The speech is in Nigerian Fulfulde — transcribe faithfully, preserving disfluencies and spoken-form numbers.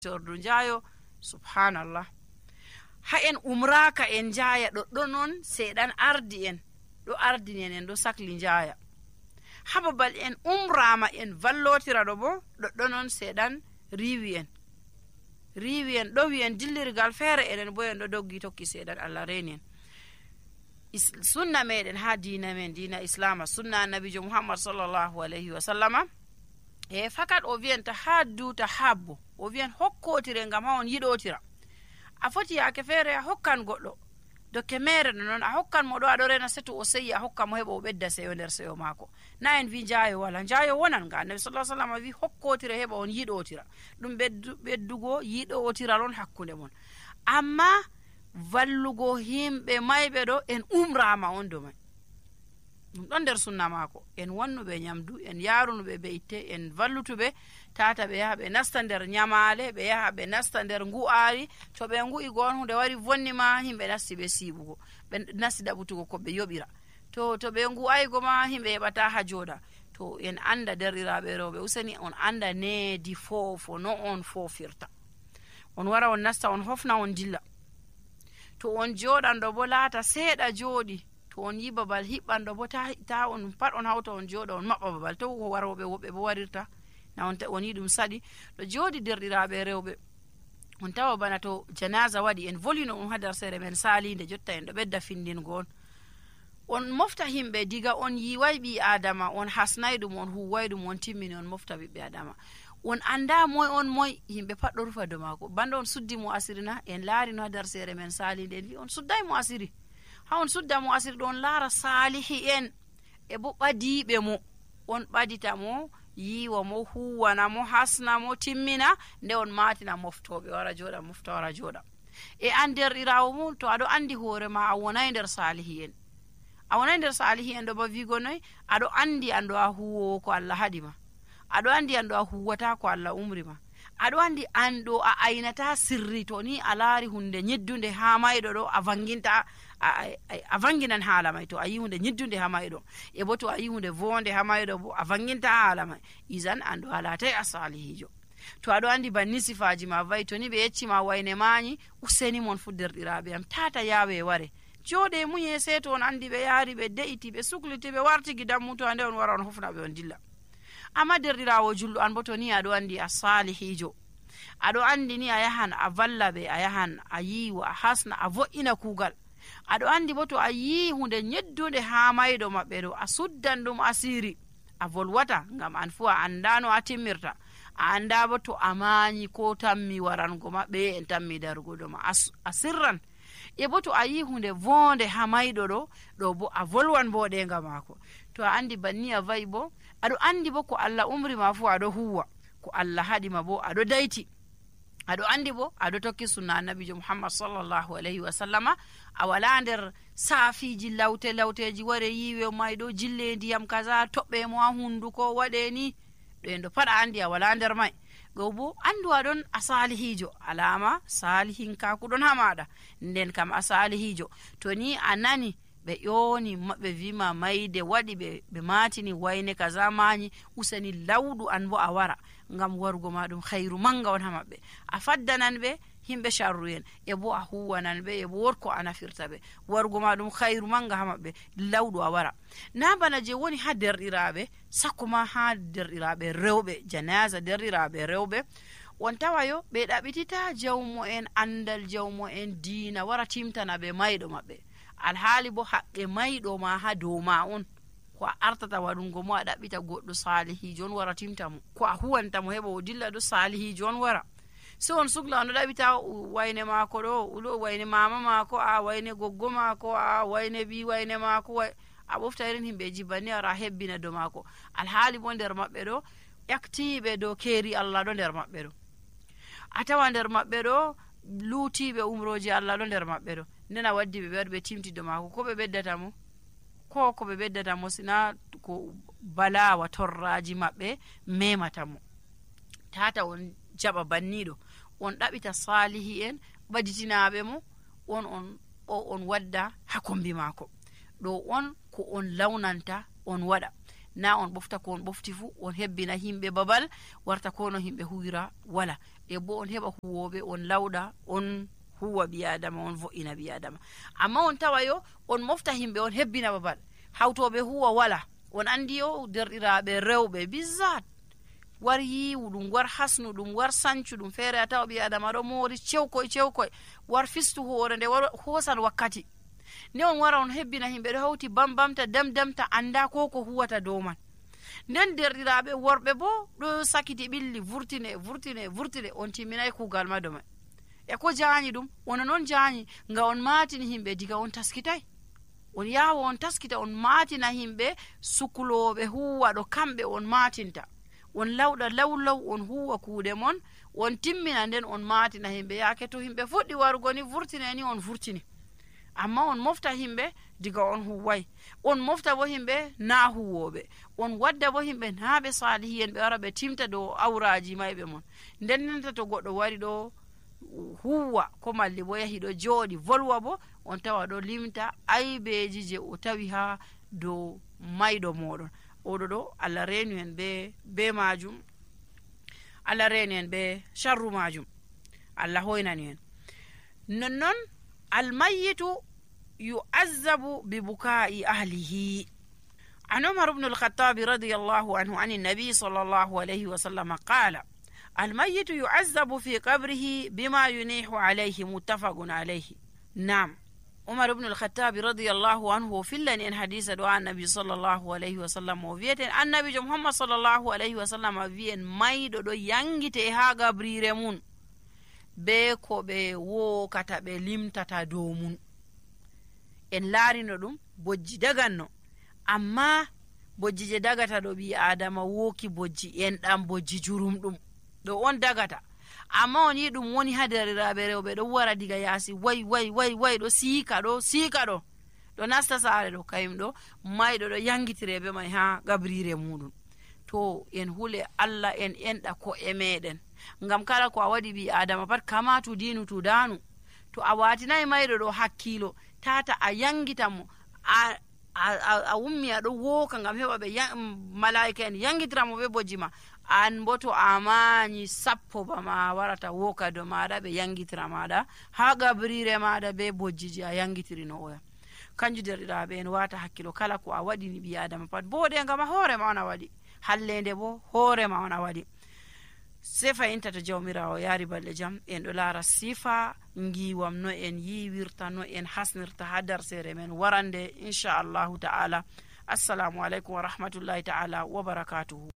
tordu njaayo subhanallah. Ha en umraka en njaaya ɗoɗɗo non seeɗan ardi en ɗo ardini en en ɗo sakli njaaya. Ha babal en umrama en vallotira ɗo bo ɗoɗɗo non seeɗan riiwi en riiwi en ɗo wi en dillirgal feere enen bo en ɗo doggi tokki seeɗan Allah reeni en. Is, sunna meɗen ha diina men diina islama sunna annabijo muhammad sallallahu alayhi wa sallama e fakat o wiyanta ha duuta habbo o wiyan hokkotire ngam ha on yiɗotira. A foti yaake feere a hokkan goɗɗo dokke mere ɗo noon a hokkan mo ɗo aɗo rena seto o seyi a hokka mo heɓa o ɓedda seyo nder seyo maako. Na en wi njaayo wala, njaayo wonan nga annabi sallallahu alaihi wasallam wi hokkotire heɓa on yiɗotira ɗum ɓeddugo yiɗotira non hakkunde mon. Amma vallugo himɓe mayɓe ɗo en umrama on do mai ɗum ɗon nder sunna maako. En wannuɓe nyamdu, en yarunuɓe be itte, en vallutuɓe tata ɓe yaha ɓe nasta nder nyamale, ɓe yaha ɓe nasta nder ngu'ari. To ɓe ngu'i gon hunde wari vonni ma himɓe nasti ɓe siiɓugo, ɓe nasti ɗaɓutugo ko ɓe yoɓira. To to ɓe ngu'aygo ma himɓe heɓata ha jooɗa. To en anda derɗiraɓe rewɓe useni on anda needi foofo no on foofirta. On wara on nasta on hofna on dilla. To on jooɗan ɗo bo laata seeɗa jooɗi. To on yi babal hiɓɓanɗo bo ta, ta on pat on hawta on jooɗa on maɓɓa babal. To waroɓe woɓɓe bo warirta na on, on yi ɗum saɗi ɗo jooɗi derɗiraɓe rewɓe. On tawa bana to janaza waɗi en volino on ha nder sere men salinde jotta en ɗo ɓedda findingo on. On mofta himɓe diga on yiwai ɓi adama on hasnai ɗum on huwai ɗum on timmini on mofta ɓiɓɓe adama. On anda moy on moy himɓe pat ɗo rufa do maako. Banda on suddi mo asiri na en laari no ha nder sere men salinde en wi on suddai mo asiri. Ha on sudda mo asiri ɗo on laara salihi en e bo ɓadiɓe mo on ɓadita mo yiwa mo huwana mo hasna mo timmina nde on matina moftoɓe wara jooɗa mofta wara jooɗa. E an derɗirawo mum to aɗo andi hoore ma a wonai nder salihi en a wonai nder salihi en ɗo ba wigo noy aɗo andi an ɗo a huwowo ko Allah haɗi ma, aɗo andi an ɗo a huwata ko Allah umri ma, aɗo andi an ɗo a aynata sirri to ni a laari hunde ñeddunde ha mayɗo ɗo a vanginta a, a, a vanginan haala may. To a yi hunde ñeddunde ha mayɗo e bo to a yi hunde vonde ha mayɗo bo a vanginta haala may, isan an ɗo a laatay a salihijo. To aɗo andi banni sifaji ma vayi to ni ɓe yeccima wayne mañi useni mon fu derɗiraɓe am tata yawe ware jooɗe muñe se to on andi ɓe yaari ɓe de'iti ɓe sukliti ɓe warti gidan mutu ande on wara on hofna ɓe on dilla. Amma derɗirawo julɗo an bo to ni aɗo andi a salihijo, aɗo andi ni a yahan a valla ɓe, a yahan a yiwa a hasna a vo'ina kuugal, aɗo andi bo to a yi hunde ñeddude ha mayɗo maɓɓe ɗo a suddan ɗum asiri a volwata ngam an fu a anda no a timmirta, a anda bo to a mañi ko tammi warango maɓɓe en tammi darugo ɗo ma a sirran. E bo to a yi hunde vonde ha mayɗo ɗo ɗo bo a volwan bo ɗenga maako. To a andi banni a vayi bo aɗo andi bo ko Allah umri ma fu aɗo huwa, ko Allah haɗima bo aɗo dayti, aɗo andi bo aɗo tokki sunna annabijo muhammad sallallahu alayhi wa sallama. A wala nder saafiji lawte lawteji ware yiwe mayɗo jille ndiyam kaza toɓɓe mo ha hunduko waɗe ni ɗo en ɗo paɗa andi a wala nder may. Go bo andu aɗon a salihijo, alama salihin kakuɗon ha maɗa nden kam a salihijo. To ni a nani ɓe ƴoni ɓe wima mayde waɗi ɓe ɓe matini wayne kaza mañi useni lawɗu an bo a wara ngam warugo ma ɗum hayru manga on ha maɓɓe. A faddanan ɓe himɓe sharru en e bo a huwanan ɓe e bo wotko a nafirta ɓe warugo ma ɗum hayru manga ha maɓɓe lawɗu a wara. Na bana je woni ha derɗiraɓe sakko ma ha derɗiraɓe rewɓe janaza derɗiraɓe rewɓe on tawayo ɓe ɗaɓitita jawmo en andal jawmo en diina wara timtana ɓe mayɗo maɓɓe, alhaali bo haqqe mayɗo ma ha dow ma on. Ko a artata waɗungo mo a ɗaɓɓita goɗɗo salihijo on wara timta mo, ko a huwanta mo heɓa o dilla ɗo salihijo on wara. So on sugla on ɗo ɗaɓita wayne maako ɗo ulo wayne mama maako a wayne goggo maako a wayne ɓi wayne maako a ɓofta irin himɓeji banni ara hebbina do maako, alhaali bo nder maɓɓe ɗo ƴaktiɓe dow keeri Allah ɗo nder maɓɓe ɗo, a tawa nder maɓɓe ɗo luutiɓe umroji Allah ɗo nder maɓɓe ɗo. Nden a waddi ɓe ɓe waɗi ɓe timti do maako ko ɓe ɓeddata mo ko ko ɓe ɓeddata mo sina ko balawa torraji maɓɓe memata mo. Tata on jaɓa banniɗo on ɗaɓita salihi en ɓaditinaɓe mo on on o on wadda ha kombi maako ɗo on ko on lawnanta on waɗa, na on ɓofta ko on ɓofti fu on hebbina himɓe babal warta ko no himɓe huwira wala. e bo on heɓa huwoɓe on lawɗa on huwa ɓi adama on vo'ina ɓi adama. amma on tawa yo on mofta himɓe on hebbina babal hawtoɓe huwa wala. on andi yo derɗiraɓe rewɓe bizzat war yiwu ɗum war hasnu ɗum war sancu ɗum feere a tawa ɓi adama ɗo moori cewkoy cewkoy war fistu hoore nde war hoosan wakkati nde on wara on hebbina himɓe ɗo hawti bambamta damdamta anda ko ko huwata dow man. nden derɗiraɓe worɓe bo ɗo sakiti ɓilli vurtine vurtine vurtine on timminayi kuugal mado mai e ko jaanyi ɗum wona noon jaanyi nga on maatini himɓe diga on taskitay on yaawa on taskita on maatina himɓe sukuloɓe huwa ɗo kamɓe on maatinta on lawɗa lawlaw on huwa kuuɗe mon on timmina nden on maatina himɓe yaake to himɓe fuɗɗi warugo ni vurtine ni on vurtini. amma on mofta himɓe diga on huway on mofta bo himɓe na huwoɓe on wadda bo himɓe naaɓe salihiyen ɓe wara ɓe timta dow awraji mayɓe mon. nden nenta to goɗɗo wari ɗo huwa ko malli bo yahi ɗo jooɗi volwa bo on tawa ɗo limta aybeji je o tawi ha dow mayɗo moɗon. oɗo ɗo Allah reenu en be be majum Allah reenu en be sharru majum Allah hoynani en. nonnon almayyitu yu'azzabu bi bukai ahlihi. an Umar ibn al-Khattab radiyallahu anhu an an-nabi sallallahu alayhi wa sallam qala almayyitu yu'azzabu fi qabrihi bima yunihu alayhi muttafaqun alayhi. nam Umar ibn al-Khattab radiyallahu anhu fillani en hadisa do annabi sallallahu alayhi wa sallam o wieten annabi jo Muhammad sallallahu alayhi wa sallam wien maydo do yangite ha gabrire mun be ko ɓe wokata ɓe limtata dow mun. en laarino ɗum bojji daganno amma bojji je dagata ɗo ɓi adama woki bojji en ɗam bojji jurum ɗum ɗo on dagata. amma on yi ɗum woni ha deriraɓe rewɓe ɗo wara diga yaasi way way way way ɗo siika ɗo siika ɗo ɗo nasta saare ɗo kayum ɗo mayɗo ɗo yangitire be may ha gabrire muɗum. to en hule Allah en enɗa ko e meɗen ngam kala ko a waɗi ɓi adama pat kama tu dinu tu danu. to a watinayi mayɗo ɗo hakkilo tata a yangita mo a a, a wummi aɗo woka ngam heɓa ɓe malaika en yangitiramo ɓe bojji ma an bo to a mañi sappo bama warata woka do maɗa ɓe yangitira maɗa ha gabrire maɗa be bojjiji a yangitirino oya. kanju derɗiraɓe en wata hakkilo kala ko a waɗini ɓi adama pat boɗe ngam a hoorema on a waɗi hallende bo hoorema on a waɗi. se fayinta to jawmirawo yaari balɗe jam en ɗo laara sifa ngiwam no en yiwirta no en hasnirta ha darsere men warande inchallahu ta'ala. assalamu aleykum wa rahmatullahi ta'ala wa barakatuhu.